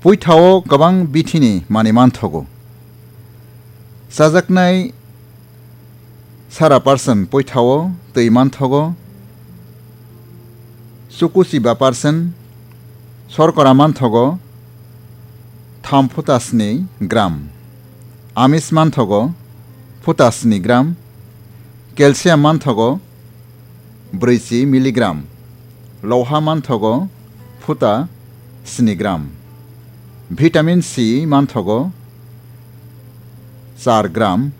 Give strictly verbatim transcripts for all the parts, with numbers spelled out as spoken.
Puithao kwbang bithini manwi manthogo. Chajaknai sara percent puithao twi manthogo, chukuchiba percent, sorkora manthogo tham phuta sni gram, amis manthogo phuta sni gram, calcium manthogo brwichi milligram, loha manthogo phuta sni gram, vitamin C manthogo char gram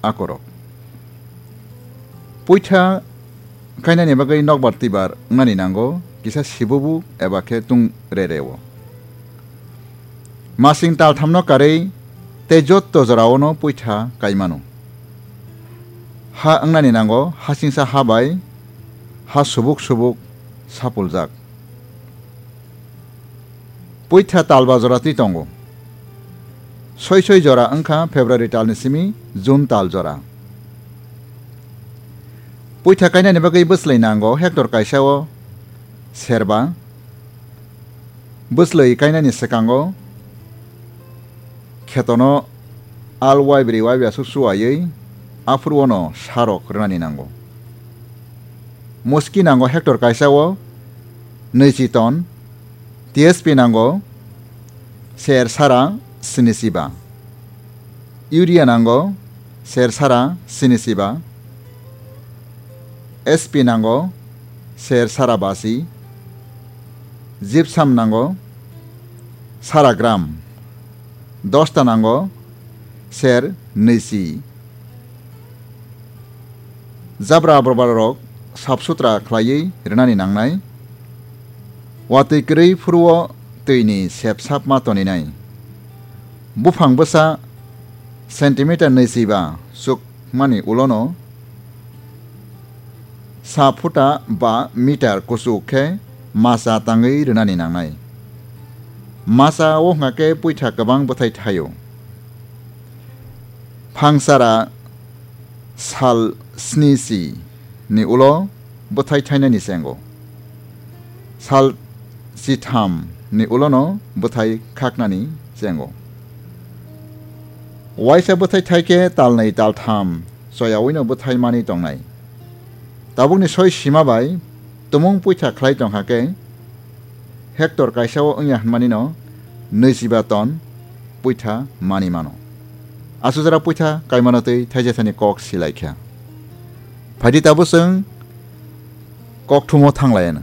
akorok. Puitha kainani bagwi nokbar twibar wngnani nango kisa sibubu eba khe tung re reo. Masing talthamno karwi tei jotto joraono puitha kaimano. Ha wngnani nango hasingsa ha bai ha subuk subuk sapuljak. Puitha talba jora twi tongo. Soi soi jora wngkha February talni simi June tal jora. Puitha kainani bagwi bwslwi nango hectare kaisao serba. Bwslwi kainani swkango khetono al waibrwi waibi aswk chuwaiwi aphuru ono sarok rwnani nango. Muski nango hectare kaisao nwichi ton, T S P nango ser sara sinichiba, urea nango ser sara sinichiba, S P nango ser sara basi, gypsum nango sara gram, dosta nango ser nwichi. Jabra abrobarok sap sutra khlaiwi rwnani nangnai. Watwi kwrwi phuruo twini sep sap ma toninai. Buphang bwsa centimeter nwichiba chukmani ulono sa phuta ba meter kuchuk khe masa tangwi rwnani nangnai. Masa o hwnkha khe puitha kwbang bwthai thaio. Phangsara sal sni si ni ulo bwthai thainani chengo. Sal chitham ni ulono bwthai khaknani chengo. Waisa bwthai thaikhe talnwi taltham choyawino bwthai mani tongnai. Tabukni soi sima bai tumung puitha khlai tongkha khe hectare kaisao wngya hwnmanino nwichiba ton puitha mani mano. Asujara puitha kaimano twi thaisa thani kok silaikha. Phaidi tabuk chwng kokthumo thanglaiano.